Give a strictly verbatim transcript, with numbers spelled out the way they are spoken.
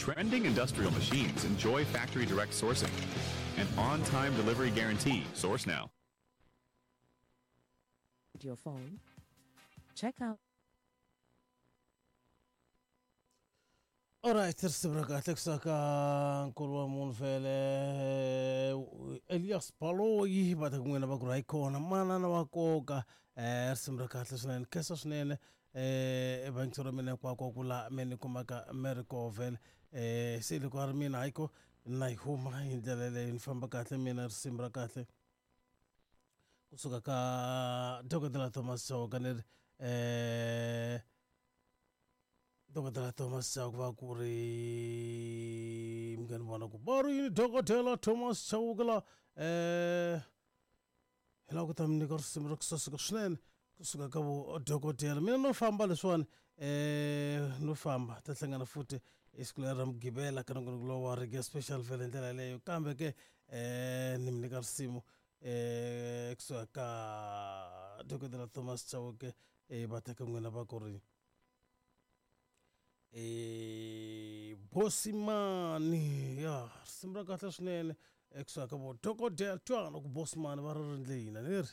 Trending industrial machines enjoy factory direct sourcing and on-time delivery guarantee. Source now. Your phone. Check out. Alright, risimu ra kahle kusaka nkulu wa munhu vhele Elias Baloyi va ta ku n'wina va ku ri hayi kona manana wa nkoka um risimu ra kahle swinene khensa swinene um evangisi ra mina hinkwako ku laha me ni kumaka me ri koho vhele um se loko a ri mina hayiko na yi huma hi ndlela leyi ni famba kahle mina risimu ra kahle kusuka ka dokodela Thomas Chauke ni ri um dokodela Thomas Chauke va ku ri mi nga ni vona ku va ri yini dokodela Thomas Chauke la um hi lava ku ta mi nyika risimu ra ku saseka swinene kusuka ka vo dokodela mina no famba leswiwani um no famba ta hlangana futhi esiku leri ra mugqivela ka nongonoko lowu wa reggae special vhele hi ndlela yeleyo kambe ke um ni mi nyika risimu um kusuka ka dokodela Thomas Chauke um va teka n'wina va ku ri eh Bosimani ya risimu ra kahle swinene ekusuka ka vo dokodela twana ku Bosimani va ri rindle hina ni ri.